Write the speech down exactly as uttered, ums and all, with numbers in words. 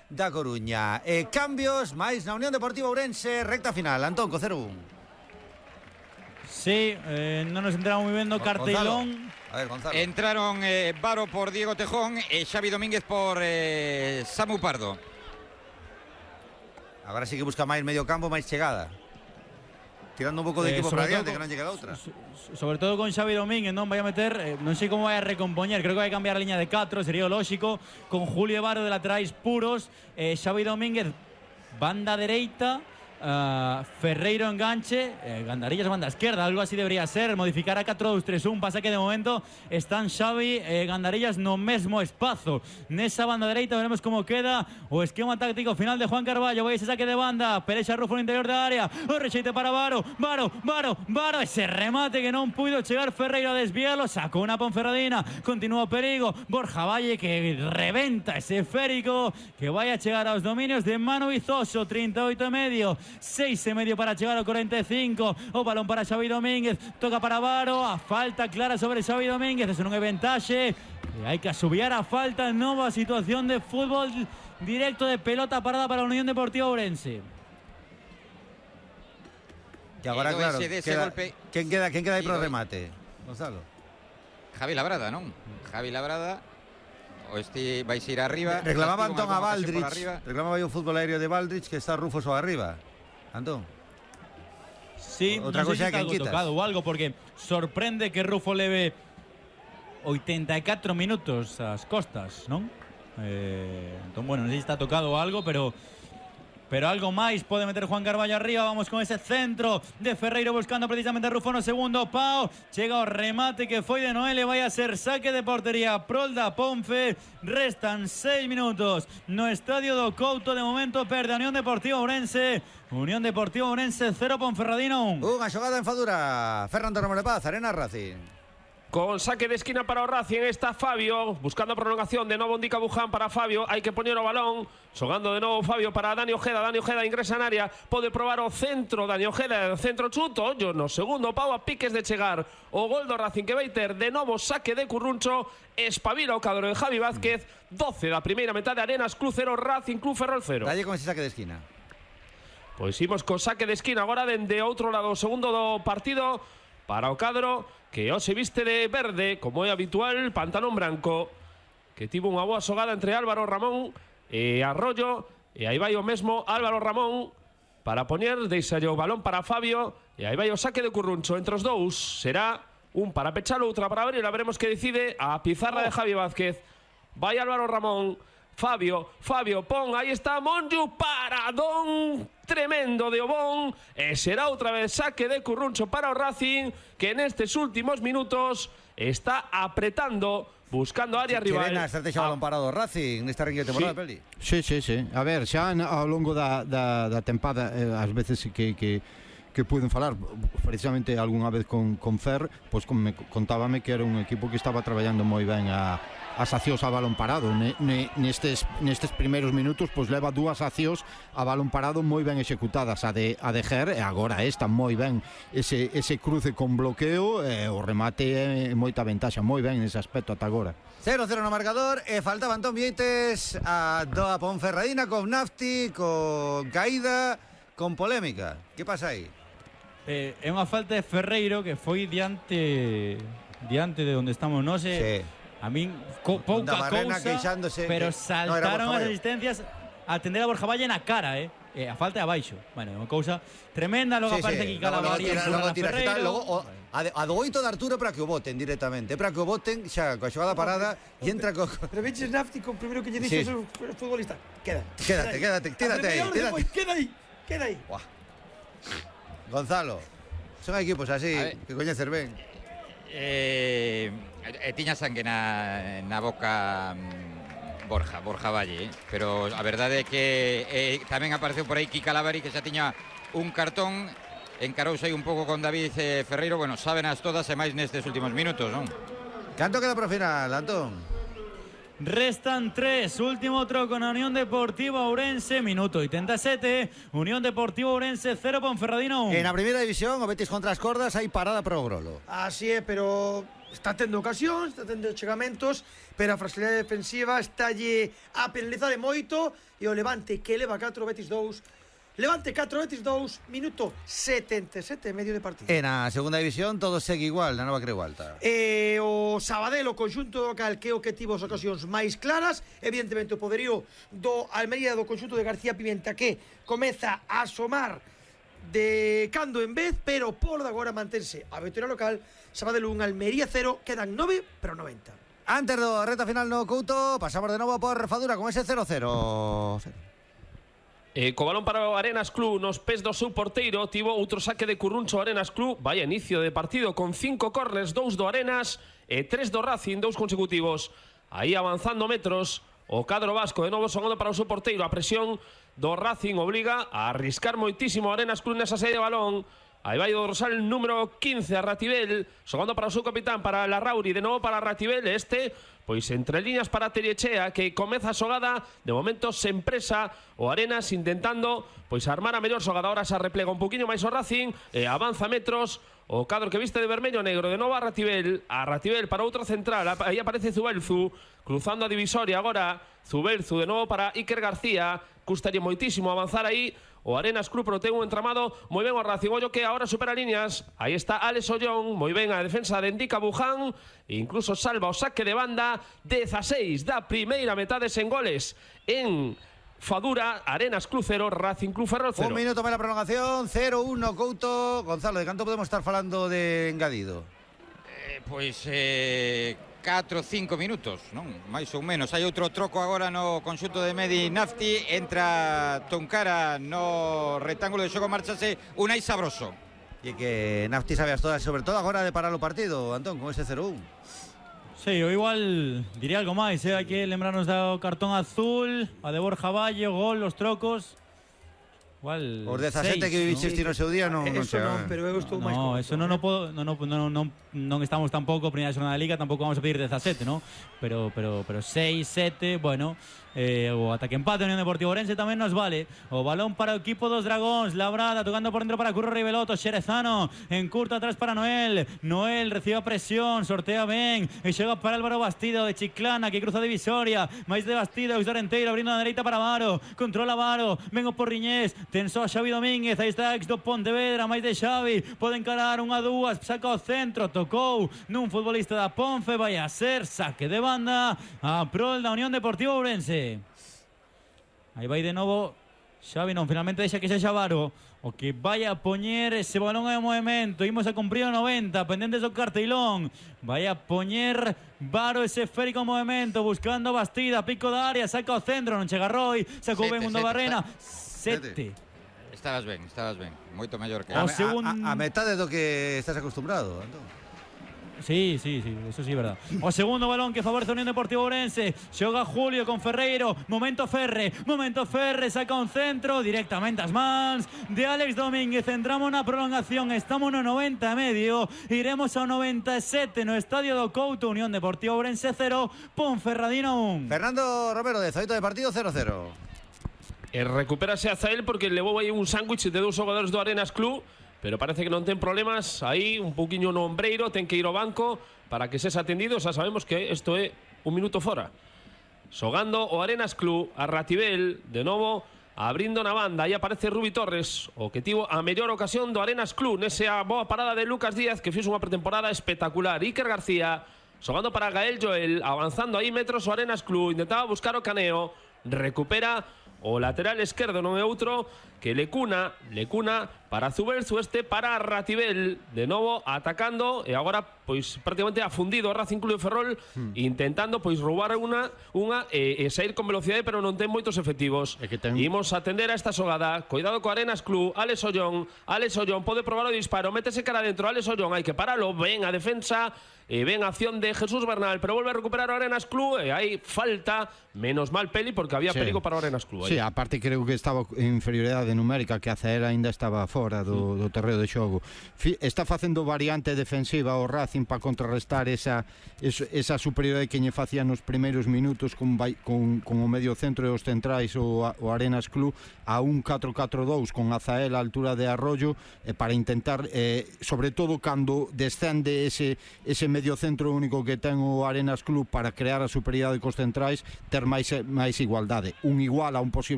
da Coruña. Eh, cambios, máis na Unión Deportiva Ourense, recta final. Antón, co cero un. Sí, eh, non nos entramos moi ben no cartelón. A ver, Gonzalo. Entraron eh, Varo por Diego Tejón e Xavi Domínguez por eh, Samu Pardo. Agora sí que busca máis medio campo, máis chegada. Tirando un pouco de Eh, equipo sobre para adiante, todo que non llega a outra. so- Sobre todo con Xavi Domínguez, non vai a meter, eh, non sei como vai a recompoñer, creo que vai a cambiar a liña de catro, sería o lógico, con Julio Varo de laterais puros, eh, Xavi Domínguez banda dereita, uh, Ferreiro enganche, eh, Gandarillas banda esquerda, algo así debería ser, modificar a catro dos tres un, pasa que de momento están Xavi e eh, Gandarillas no mesmo espazo. Nesa banda dereita veremos como queda o esquema táctico final de Juan Carballo. Vai ese saque de banda, Perexa Rufo no interior da área, o rexeite para Varo, Varo, Varo, Varo, ese remate que non puido chegar Ferreiro a desviarlo, sacou una Ponferradina, continúa o perigo, Borja Valle que reventa ese esférico que vai a chegar aos dominios de Manu Vizoso, trinta e oito e medio, seis e medio para chegar ao cuarenta e cinco, o balón para Xavi Domínguez, toca para Varo, a falta clara sobre Xavi Domínguez, eso non é ventaxe, e hai que asubiar a falta, nova situación de fútbol directo de pelota parada para a Unión Deportiva Ourense. E agora, E do claro, ese dese queda, golpe- quen queda, quen queda aí Sí, pro do- remate? Gonzalo. Javi Labrada, non? Javi Labrada o este vais ir arriba. Reclamaba Castigo Antón a algunha ocasión por Baldrich, arriba. reclamaba aí o fútbol aéreo de Baldrich que está Rufo só arriba. Antón. Sí, Outra non sei cousa se é está quen algo quitas. tocado ou algo, porque sorprende que Rufo leve oitenta e catro minutos ás costas, non? Eh, entón, bueno, non sei se está tocado ou algo, pero pero algo máis pode meter Juan Carballo arriba. Vamos con ese centro de Ferreiro buscando precisamente a Rufo no segundo pau, chega o remate que foi de Noel e vai a ser saque de portería prol da Ponfe. Restan seis minutos no estadio do Couto. De momento perde a Unión Deportiva Ourense. Unión Deportiva Ourense cero, Ponferradina un. Unha xogada en Fadura. Fernando Ramos de Paz, Arena Racing. Con saque de esquina para o Racing está Fabio, buscando a prolongación de novo Indica Buján para Fabio, hai que poñer o balón, xogando de novo Fabio para Dani Ojeda, Dani Ojeda ingresa en área, pode probar o centro, Dani Ojeda, centro chuto, ollo no segundo pau a piques de chegar o gol do Racing que vai ter de novo saque de Curruncho, espabila o cadro de Javi Vázquez, doce da primeira metade, Arenas Club cero, Racing Club Ferrol cero. Dalle con ese saque de esquina. Pois imos co saque de esquina agora dende outro lado, o segundo do partido para o cadro que hoxe viste de verde, como é habitual, pantalón branco, que tivo unha boa xogada entre Álvaro Ramón e Arroyo, e aí vai o mesmo Álvaro Ramón para poñer, deixalle o balón para Fabio, e aí vai o saque de Curruncho entre os dous, será un para pechalo, outra para abrir, a veremos que decide a pizarra de Javi Vázquez. Vai Álvaro Ramón, Fabio, Fabio, pon, aí está Monju, paradón tremendo de Obón, e será outra vez saque de Curruncho para o Racing, que nestes últimos minutos está apretando, buscando a área rival. Queren a estrategia balón parado Racing nesta ringue temporada, Sí. Peli. Sí, sí, sí. A ver, xa ao longo da, da, da tempada, eh, ás veces que, que, que puiden falar, precisamente algunha vez con, con Fer, pois con, me, contábame que era un equipo que estaba traballando moi ben a as accións a balón parado. Ne, ne, nestes, nestes primeiros minutos pois leva dúas accións a balón parado moi ben executadas, a de, a de Ger, e agora esta moi ben, ese, ese cruce con bloqueo, e o remate é moita ventaxa, moi ben nese aspecto ata agora. cero cero no marcador e faltaba Antón Vieites a doa Ponferradina con Nafti, con caída, con polémica. Que pasa aí? Eh, é unha falta de Ferreiro que foi diante diante de onde estamos, non sei. Sí. A min co, pouca Da Barrena cousa, queixándose pero que- saltaron no, era Borja as Valle. asistencias a atender a Borja Valle na cara, eh. E a falta é abaixo. Bueno, é unha cousa tremenda, logo Sí, aparece sí. aquí Logo- logo Calabarí tira- empurra logo a tira- Ferreiro. logo o- a, de, a do oito de Arturo para que o voten directamente, para que o voten xa coa xogada parada e entra co, co... Pero veches Nafti con primero que lle Sí. dixo sí. o futbolista. Queda. Quédate, quédate, quédate aí, quédate. Queda aí, queda aí. Buah. Gonzalo, son equipos así A ver. que coñecer ben. Eh, eh, tiña sangue na, na boca mm, Borja, Borja Valle, eh? Pero a verdade é que eh, tamén apareceu por aí Kika Calabarí, que xa tiña un cartón, encarouse aí un pouco con David eh, Ferreiro. Bueno, sábenas todas e máis nestes últimos minutos, non? Canto queda pro final, Antón? Restan tres, último troco na Unión Deportiva Ourense, minuto oitenta e sete, Unión Deportiva Ourense cero, Ponferradina un. En a primeira división, o Betis contra as cordas, hai parada pro Grolo. Así é, pero está tendo ocasións, está tendo chegamentos, pero a fragilidade defensiva estálle a penalizar de moito, e o Levante que leva catro, Betis dous. Levante catro, Betis dous, minuto setenta e sete e medio de partido. En a segunda división todo segue igual, na Nova Creu Alta. E o Sabadell, o conxunto local, que é o que tivo as ocasións máis claras, evidentemente o poderío do Almería, do conxunto de García Pimenta, que comeza a asomar de cando en vez, pero polo de agora mantense a victoria local. Sabadell un, Almería cero, quedan nove, pero noventa. Antes do reta final no Couto, pasamos de novo por Fadura con ese cero cero. E co balón para o Arenas Club nos pés do seu porteiro, tivo outro saque de Curruncho Arenas Club. Vaya inicio de partido con cinco corners, dous do Arenas e tres do Racing, dous consecutivos. Aí avanzando metros o cadro vasco, de novo sonando para o seu porteiro. A presión do Racing obliga a arriscar moitísimo o Arenas Club nesa saída de balón. Aí vai o dorsal número quince a Ratibel, xogando para o seu capitán, para Larrauri, de novo para Ratibel. Este, pois entre líneas para Teriechea, que comeza a xogada, de momento se empresa o Arenas intentando pois armar a mellor xogada. Ahora se replega un poquinho máis o Racing e avanza metros o cadro que viste de vermello negro, de novo a Ratibel, a Ratibel para outro central. Aí aparece Zubelzu, cruzando a divisoria agora. Zubelzu de novo para Iker García, custaría moitísimo avanzar aí o Arenas Club, pero ten un entramado moi ben o Racing. Ollo que ahora supera líneas. Aí está Alex Ollón, moi ben a defensa de Indica Buján, e incluso salva o saque de banda. Dezaseis da primeira metade sen goles en Fadura. Arenas Club cero, Racing Club Ferrol cero. Un minuto para la prolongación, cero uno Couto. Gonzalo, de canto podemos estar falando de engadido? Eh, pois eh, catro, cinco minutos, non? Mais ou menos. Hai outro troco agora no conxunto de Medi Nafti. Entra Toncara no rectángulo de xogo, marchase Unai Sabroso. E que Nafti sabías todas, sobre todo agora de parar o partido, Antón, con ese cero uno. Sí, eu igual diría algo máis, eh? Hai que lembrarnos do cartón azul, a de Borja Valle, o gol, os trocos. Igual os dezasete que viviste no seu día non Eso non, pero eu estou máis No, con eso non no podo, non no, no, no, non estamos tampouco primeira xornada da Liga, tampouco vamos a pedir dezasete, ¿no? Pero pero pero seis, sete, bueno, eh, o ataque empate Unión Deportivo Ourense tamén nos vale. O balón para o equipo dos Dragóns, Labrada tocando por dentro para Curro Riveloto, Xerezano en curto atrás para Noel. Noel recibe a presión, sortea ben e chega para Álvaro Bastido de Chiclana, que cruza a divisoria, máis de Bastido, Usarenteiro abrindo a dereita para Varo, controla Varo, vengo por Riñés, tensou a Xavi Domínguez, aí está ex do Pontevedra, máis de Xavi, pode encarar unha dúas, saca o centro, tocou nun futbolista da Ponfe, vai a ser saque de banda a prol da Unión Deportiva Ourense. Aí vai de novo Xavi, non, finalmente deixa que sexa Varo o que vai a poñer ese balón en movimento. Imos a cumprir o noventa, pendentes do carteilón. Vai a poñer Varo ese esférico en movimento, buscando Bastida, pico da área, saca o centro, non chega Roy, sacou ben Mundo Barrena. Sete. Estabas ben, estabas ben, moito mellor que A, O a, segun- a, a metade do que estás acostumbrado, Antón. Sí, sí, sí, eso sí es verdad. O segundo balón que favorece a Unión Deportiva Ourense. Xoga Julio con Ferreiro. Momento Ferre. Momento Ferre. Saca un centro directamente as mans de Alex Domínguez. Entramos na prolongación. Estamos no noventa e medio. Iremos ao noventa e sete no estadio do Couto. Unión Deportiva Ourense cero, Ponferradina un. Fernando Romero, de Zoito de partido cero cero. E recupérase a Zael porque levou aí un sándwich de dous xogadores do Arenas Club, pero parece que non ten problemas. Aí un pouquiño no ombreiro, ten que ir ao banco para que sexa atendido. Xa sabemos que isto é un minuto fora. Xogando o Arenas Club, a Ratibel, de novo abrindo na banda. Aí aparece Rubi Torres, o que tivo a mellor ocasión do Arenas Club nesa boa parada de Lucas Díaz, que fixo unha pretemporada espectacular. Iker García xogando para Gael Joel, avanzando aí metros o Arenas Club, intentaba buscar o caneo, recupera o lateral esquerdo, non é outro que Lecuna, Lecuna para Zubelzu, este para Ratibel, de novo atacando e agora pois prácticamente afundido o Racing Club de Ferrol, hmm. intentando pois roubar unha unha e, e sair con velocidade, pero non ten moitos efectivos. É que ten... Imos a atender a esta xogada. Cuidado co Arenas Club, Alex Ollón, Alex Ollón pode probar o disparo, métese cara dentro, Alex Ollón, hai que paralo, ven a defensa e ven a acción de Jesús Bernal, pero volve a recuperar o Arenas Club e hai falta, menos mal Peli, porque había sí. perigo para o Arenas Club. Sí, aparte creo que estaba en inferioridade numérica, que a Zael ainda estaba fora. fora do, do terreo de xogo. Fi, está facendo variante defensiva o Racing para contrarrestar esa, esa, esa superioridade que lle facía nos primeiros minutos con, con, con o medio centro e os centrais o, o Arenas Club a un catro catro dous con Azael a altura de Arroyo eh, para intentar, eh, sobre todo cando descende ese, ese medio centro único que ten o Arenas Club para crear a superioridade cos centrais, ter máis, máis igualdade. Un igual a un posible